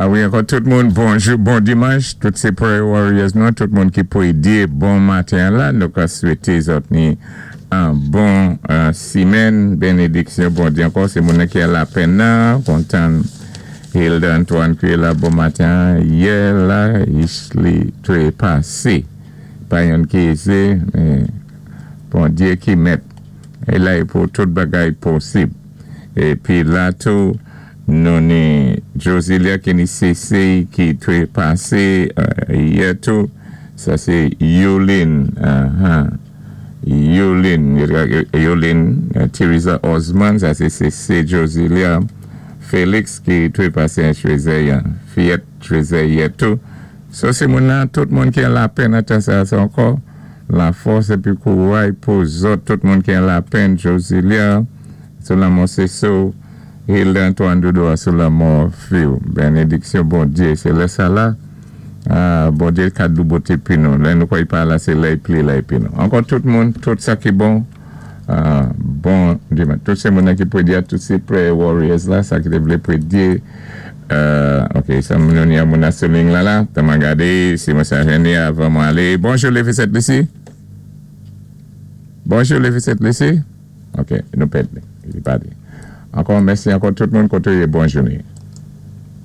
A wi, ankò tout moun, bonjou, bon dimanch, tout sé prayer warriors nou, tout moun ki pwédyé bon maten la, nou ka swété zòt ni an bon simèn, bénédiksyon Bondyé ankò, sé moun ki an lapenn nan, kontan Hilda Antoine ki la bon maten, yè la, li twépasé, pa youn ki ézé, men Bondyé ki mèt, é la pou tout bagay posib. Épi la tou, nou ni Josilia ki ni CC ki twépasé yè tou, sa sé Yolin, Yolin, Yolin Teresa Osman, sa sé CC Josilia Félix ki twépasé an Trésor, fiyèt Trésor yè tou. So sé moun nan, tout moun ki an lapenn an tan sa ankò, lafòs épi kouray pou zòt, tout moun ki an lapenn, Josilia, sou lanmò Seso, Hilda Antoine Doudou sou lanmò fi-w. Bénédiksyon Bondyé, sé lè sa la, Bondyé ka douboté pi nou. Lè nou kwè i pa la, sé lè i pli la épi nou. Ankò tout moun, tout sa ki bon, bon dimanch. Tout sé moun ki pwédyé, tout sé prayer warriors la, sa ki té vlé pwédyé. Ok, sa nou ni moun sou liy la la. Tanm gadé, si mwen sa jenné avan mwen alé. Bonjou, Lévi Sent Lisi. Bonjou, Lévi Sent Lisi. Ok, nou pèd li. Li pa di. Ankò, mèsi ankò tout moun koté, bon jounen.